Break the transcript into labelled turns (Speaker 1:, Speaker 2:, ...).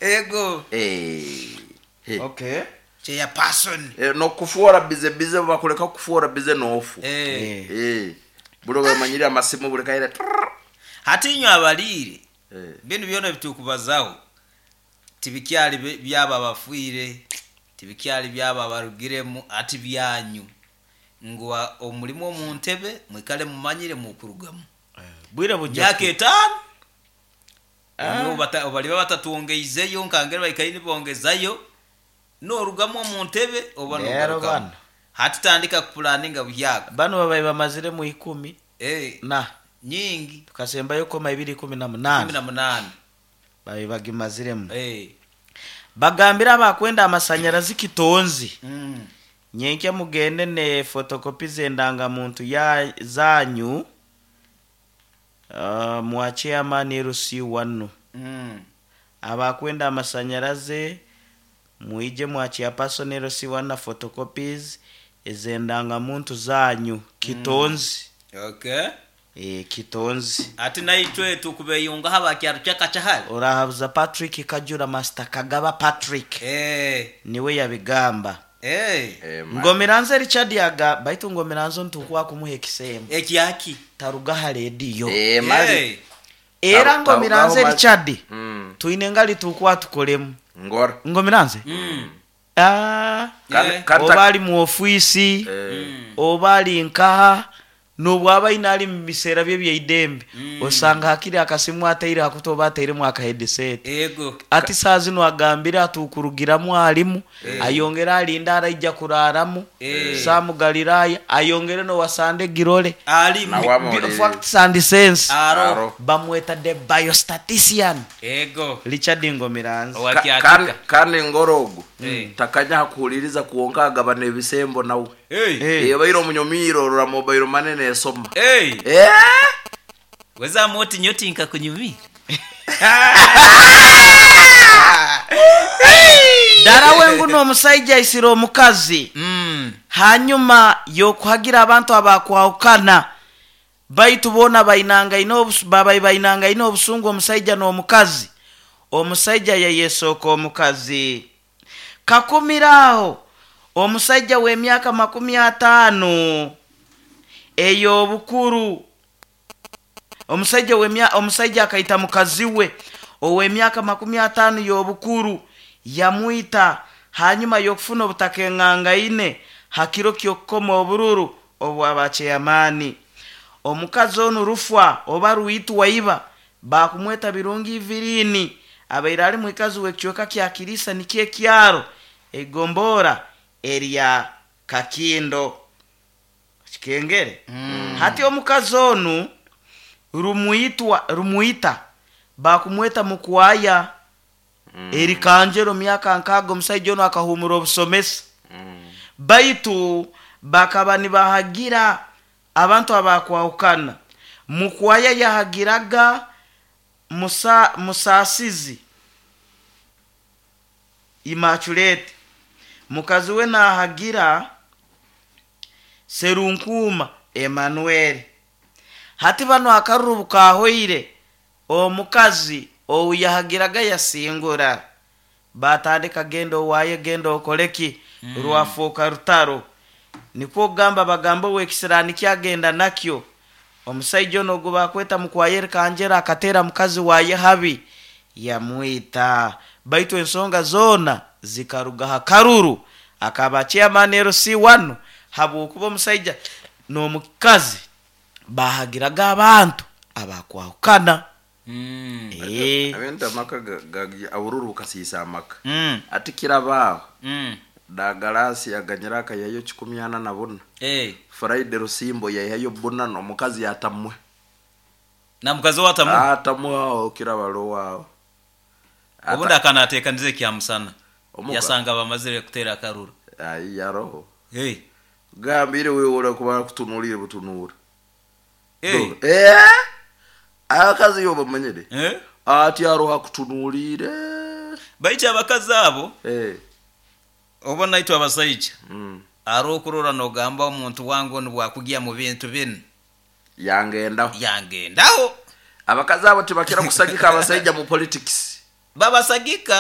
Speaker 1: Ego.
Speaker 2: Eh, eh.
Speaker 3: Okay.
Speaker 1: Chairperson.
Speaker 2: Eh, nokufuora bize bize, bakuleka kufuora bize nofu.
Speaker 1: Eh.
Speaker 2: Eh, buli bamanyire amasimu buli kaire.
Speaker 1: Hati inywe abaliire,
Speaker 2: Eh.
Speaker 1: binu byona ebitukubazaho tibikyali byaba abafiire, tibikyali byaba abarugiremu, ati byanyu ngu omulimu omu ntebe mwikale mumanyire mukurugamu.
Speaker 3: Bwire bujja.
Speaker 1: Myaka 5. Baliba batatwongeizeyo nkangere baikaire nibongezayo, norugamu omu ntebe oba
Speaker 3: Leero
Speaker 1: nogarukamu.
Speaker 3: bano.
Speaker 1: Hati tandika kupulaninga buhyaka.
Speaker 3: Bano babaye bamaziremu 10 na
Speaker 1: nyingi.
Speaker 3: Tukasembayo koma ibiri kumi na munane.
Speaker 1: 18.
Speaker 3: Babaye bagimaziremu. Bagambira abakwenda amasanyarazi kitonzi. Nyenkya mugende ne fotokopi z'endangamuntu ya zanyu. Mwa chairman LC1. Abakwenda amasanyarazi muije mwa chairperson LC1 na photocopies ez'endangamuntu zanyu kitonzi.
Speaker 1: Okay.
Speaker 3: Kitonzi.
Speaker 1: Ati naitwe tukubeyunga haba kyaro kyakachahali.
Speaker 3: Orahabuza Patrick Kajura Master Kagaba Patrick. Niwe yabigamba. Ngomiranze Richard yaga baitu Ngomiranze ntukwa kumuha ekisembo.
Speaker 1: Ekyaki?
Speaker 3: Taruga ha radio.
Speaker 2: Mali.
Speaker 3: Era Ngomiranze
Speaker 2: Tarugaho mali.
Speaker 3: Richard. Tuine ngali tukwa tukolemu.
Speaker 2: Ngora.
Speaker 3: Ngomiranze? Oba ali mu ofisi, oba ali nkaha, nobwaba aine ali mu biseera bye byeidembe. Osanga hakiri akasimu ateire hakuto oba ateiremu aka headset.
Speaker 1: Ego.
Speaker 3: Ati saa zino agambire atukurugiramu alimu, ayongere alinda araija kuraramu, Samu Galilaya, ayongere no wasande girole.
Speaker 1: Alimu.
Speaker 2: Na wamulire.
Speaker 3: Facts and sense.
Speaker 1: Aro.
Speaker 2: Aro.
Speaker 3: Bamweta the biostatistician.
Speaker 1: Ego.
Speaker 3: Richard Ngomiranze.
Speaker 1: Owa Kyatika.
Speaker 2: Kandi ngorogo. Takanya hakuhuliriza kuonka agabana ebisembo nawe. Ebaire omunyomiro rora mobile money nesoma.
Speaker 1: Weza moti nyoti nkakunyumira.
Speaker 3: Dara wengu n'omusajja aisire omukazi. Hanyuma y'okuhagira abantu abakwahukana baitu boona bainangaine babaye bainangaine obusungu omusajja n'omukazi. Omusajja yayesooka omukazi. Kakumiraho omusajja w'emyaka 50 ey'obukuru. Omusajja omusajja akaita mukazi we ow'emyaka 50 y'obukuru yamwita hanyuma y'okufuna obutaka engangaine hakiro ky'okukoma obururu obw'abacheyamaani. Omukazi onu rufwa oba ruitu waiba bakumweta Birungi Ivirini abaire ali mwikazi w'ekicweka kya Kirisa nikyo ekyaro egombora erya Kakindo Kikengere. Hati omukazi onu rumuita bakumweta Mukwaya. Eri Kanjero myaka nkago omusajja ono akahumura obusomesa. Baitu bakaba nibahagira abantu abakwahukana. Mukwaya yahagiraga Musasizi Immaculate, mukazi we nahagira Serunkuma Emmanuel. Hati bano akaruru kahoire omukazi ouyahagiraga yasingura batandika genda owaye genda okoleki. Rwafuuka rutaro. Nikwo kugamba bagambo wekisirani kyagenda nakyo. Omusajja ono gwe bakweta Mukwaya Kanjera akatera mukazi waye habi yamwita. Baitu ensonga zona zikaruga hakaruru akaba chairman LC1 habwokuba omusajja n'omukazi bahagiraga abantu abakwahukana.
Speaker 2: Abenda amaka abururu bukasiisa amaka. Ati kirabaaho. Dagalasi aganyira akayayo kikumi ana na buna. Friday Rusimbo yayayo buna n'omukazi yatamwe.
Speaker 1: Na mukazi watamwe?
Speaker 2: Atamwe aho kirabalo wao.
Speaker 1: Obundi akanateekanize kya musana. Yasanga bamazire kutera akaruru.
Speaker 2: Ai yaroho. Gambire wewe ora kuba kutunulire butunura. Akazi yo bamanyire. Ati aroha kutunulire.
Speaker 1: Baitu abakazi abo. Oba naitwe abasajja. Arokurora nogamba omuntu wangu nibwakugia mu bintu binu.
Speaker 2: Yangendaho.
Speaker 1: Yangendaho.
Speaker 2: Abakazi abo tibakira kusagika abasajja mu politics.
Speaker 1: Babasagika.